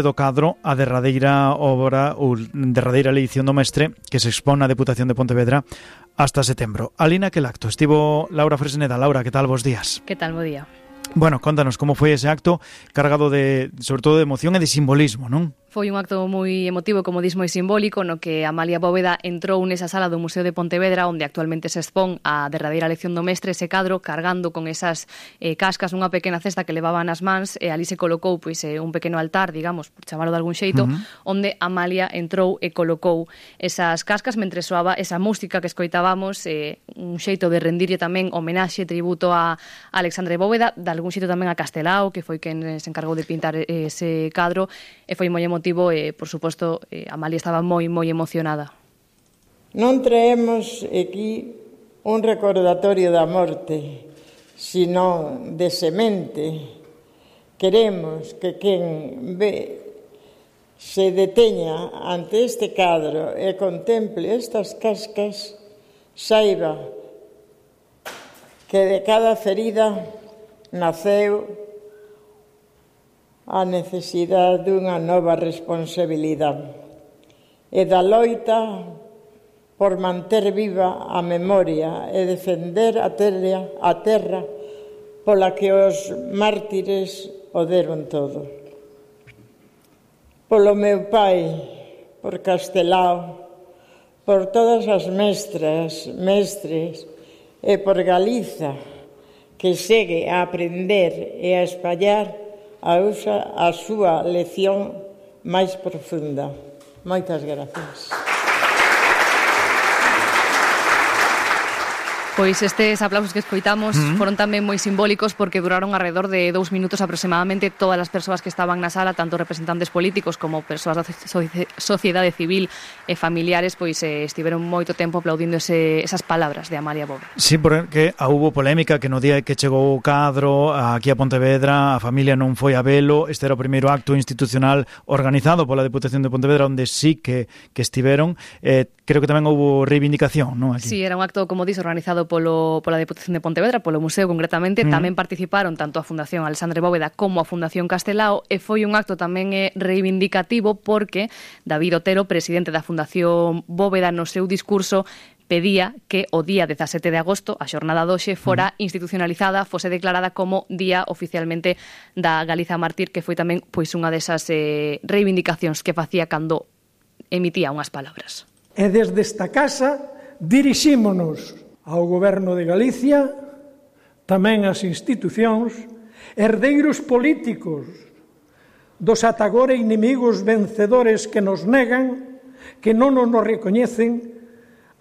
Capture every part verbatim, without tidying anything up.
do cadro a derradeira obra ou derradeira leición do mestre que se expón na Deputación de Pontevedra hasta setembro. Alí naquel acto estivo Laura Fresneda. Laura, que tal? Bos días. Que tal, bo día. Bueno, contanos como foi ese acto cargado de, sobre todo, de emoción e de simbolismo, non? Foi un acto moi emotivo, como dis, moi simbólico, no que Amalia Bóveda entrou nesa sala do Museo de Pontevedra, onde actualmente se expón a derradeira lección do mestre, ese cadro, cargando con esas eh, cascas nunha pequena cesta que levaba nas mans, e ali se colocou pois, eh, un pequeno altar, digamos, por chamarlo de algún xeito, uh-huh. onde Amalia entrou e colocou esas cascas mentre soaba esa música que escoitábamos, eh, un xeito de rendirlle tamén homenaxe, tributo a Alexandre Bóveda, de algún xeito tamén a Castelao, que foi quen se encargou de pintar ese cadro, e foi moi emotivo. Motivo, e, por suposto, eh, Amalia estaba moi, moi emocionada. Non traemos aquí un recordatorio da morte, sino de semente. Queremos que quen ve se deteña ante este cadro e contemple estas cascas, saiba que de cada ferida naceu a necesidade dunha nova responsabilidade e da loita por manter viva a memoria e defender a terra, a terra pola que os mártires o deron todo. Polo meu pai, por Castelao, por todas as mestras, mestres e por Galiza, que segue a aprender e a espallar a usa a súa lección máis profunda. Moitas gracias. Pois estes aplausos que escoitamos uh-huh. foron tamén moi simbólicos porque duraron alrededor de dous minutos aproximadamente. Todas as persoas que estaban na sala, tanto representantes políticos como persoas da sociedade civil e familiares, pois eh, estiveron moito tempo aplaudindo ese, esas palabras de Amalia Bóveda. Sí, porque houbo polémica que no día que chegou o cadro aquí a Pontevedra a familia non foi a velo. Este era o primeiro acto institucional organizado pola Deputación de Pontevedra onde sí que, que estiveron. Eh, creo que tamén houbo reivindicación, non? Aquí. Sí, era un acto, como dís, organizado polo, pola Deputación de Pontevedra, polo Museo concretamente. Mm. Tamén participaron tanto a Fundación Alexandre Bóveda como a Fundación Castelao, e foi un acto tamén eh, reivindicativo porque David Otero, presidente da Fundación Bóveda, no seu discurso pedía que o día dezasete de agosto, a xornada doxe, fora institucionalizada, fose declarada como día oficialmente da Galiza Mártir, que foi tamén pois unha desas eh, reivindicacións que facía cando emitía unhas palabras. E desde esta casa dirixímonos ao Goberno de Galicia, tamén ás institucións, herdeiros políticos dos ata agora inimigos vencedores que nos negan, que non nos recoñecen,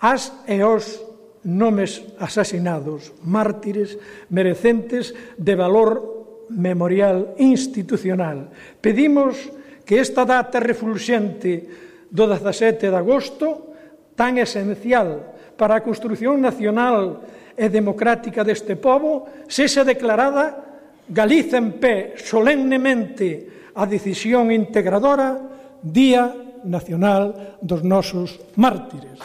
as e os nomes asasinados, mártires merecentes de valor memorial institucional. Pedimos que esta data refulxente do dezasete de agosto, tan esencial para a construción nacional e democrática deste pobo, sexa declarada Galiza en pé solemnemente a decisión integradora Día Nacional dos nosos mártires.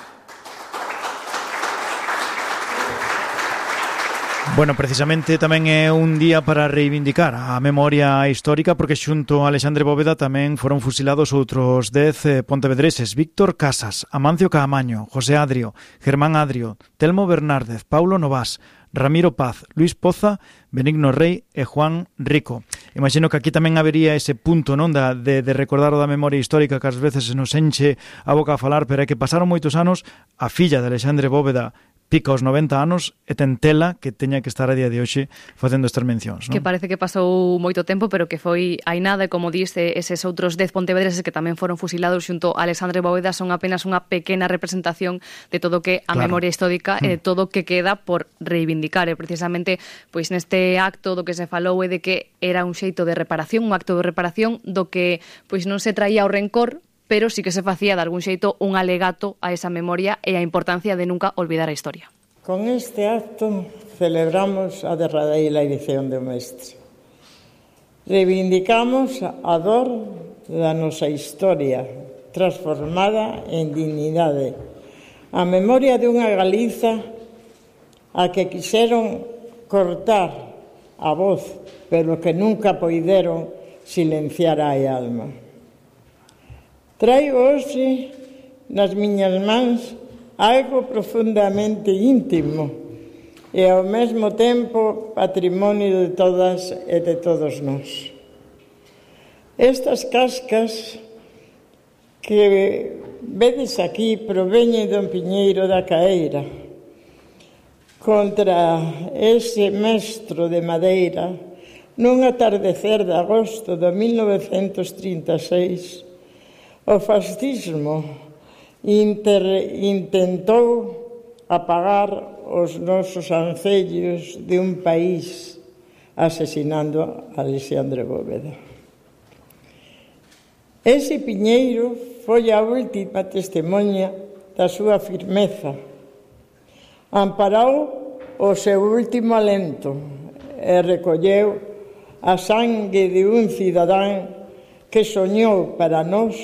Bueno, precisamente tamén é un día para reivindicar a memoria histórica porque xunto a Alexandre Bóveda tamén foron fusilados outros dez eh, pontevedreses: Víctor Casas, Amancio Caamaño, José Adrio, Germán Adrio, Telmo Bernárdez, Paulo Novás, Ramiro Paz, Luis Poza, Benigno Rey e Juan Rico. Imagino que aquí tamén habería ese punto, non, da, de, de recordar o da memoria histórica que ás veces se nos enche a boca a falar, pero é que pasaron moitos anos. A filla de Alexandre Bóveda pica os noventa anos e ten tela que teña que estar a día de hoxe facendo estas mencións, non? Que parece que pasou moito tempo, pero que foi hai nada, e como diste, eses outros dez pontevedreses que tamén foron fusilados xunto a Alexandre Bóveda son apenas unha pequena representación de todo que a claro. memoria histórica e de todo que queda por reivindicar. E precisamente, pois neste acto do que se falou é de que era un xeito de reparación, un acto de reparación do que pois non se traía o rencor, pero sí que se facía de algún xeito un alegato a esa memoria e a importancia de nunca olvidar a historia. Con este acto celebramos a derradeira edición do mestre. Reivindicamos a dor da nosa historia transformada en dignidade, a memoria dunha Galiza a que quixeron cortar a voz, pero que nunca poideron silenciar a alma. Traigo hoxe nas miñas mans algo profundamente íntimo e ao mesmo tempo patrimonio de todas e de todos nós. Estas cascas que vedes aquí proveñen do Piñeiro da Caeira. Contra ese mestro de madeira, nun atardecer de agosto de mil novecentos trinta e seis, o fascismo inter, intentou apagar os nosos ancellos de un país asesinando a Alexandre Bóveda. Ese piñeiro foi a última testemunha da súa firmeza. Amparou o seu último alento e recolleu a sangue de un cidadán que soñou para nós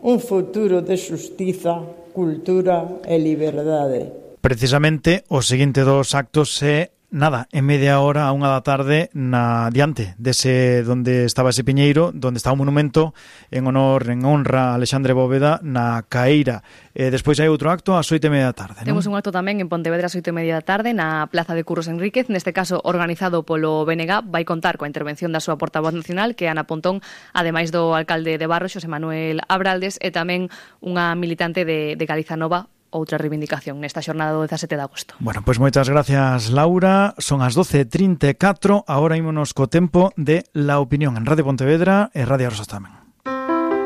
un futuro de xustiza, cultura e liberdade. Precisamente o seguinte dos actos é nada, en media hora a unha da tarde na diante dese donde estaba ese piñeiro, donde está o monumento en honor, en honra a Alexandre Bóveda na Caeira. E despois hai outro acto ás oito e media da tarde, non? Temos un acto tamén en Pontevedra ás oito e media da tarde na Plaza de Curros Enríquez, neste caso organizado polo B N G. Vai contar coa intervención da súa portavoz nacional, que é Ana Pontón, ademais do alcalde de Barro, Xosé Manuel Abraldes, e tamén unha militante de, de Galiza Nova, outra reivindicación nesta xornada do dezasete de agosto. Bueno, pois pues moitas gracias, Laura. Son as doce e trinta e catro, agora ímonos co tempo de La Opinión en Radio Pontevedra e Radio Rosas tamén.